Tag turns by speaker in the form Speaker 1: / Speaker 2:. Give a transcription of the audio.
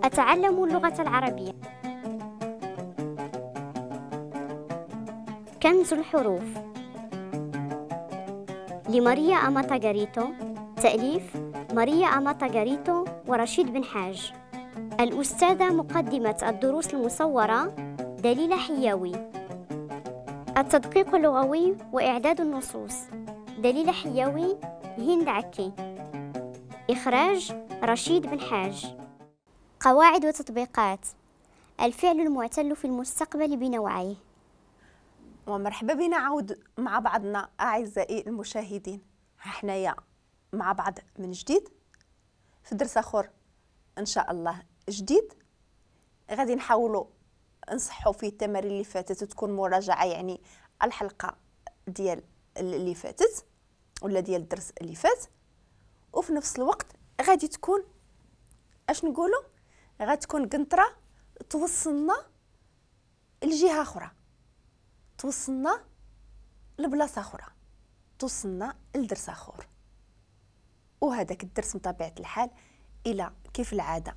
Speaker 1: أتعلم اللغة العربية. كنز الحروف لماريا أماتا غاريتو، تأليف ماريا أماتا غاريتو ورشيد بن حاج. الأستاذة مقدمة الدروس المصورة دليلة حياوي. التدقيق اللغوي وإعداد النصوص دليلة حياوي، هند عكي. إخراج رشيد بن حاج. قواعد وتطبيقات الفعل المعتل في المستقبل بنوعيه.
Speaker 2: ومرحبا بنا عاود مع بعضنا أعزائي المشاهدين. حنايا مع بعض من جديد في درس آخر إن شاء الله جديد، غادي نحاولوا نصحوا فيه التمارين اللي فاتت وتكون مراجعة يعني الحلقة ديال اللي فاتت ولا ديال الدرس اللي فات، وفي نفس الوقت غادي تكون اش نقولوا غتكون قنطرة توصلنا لجهة أخرى، توصلنا لبلاصة أخرى، توصلنا لدرس آخر. وهذاك الدرس بطبيعة الحال إلى كيف العادة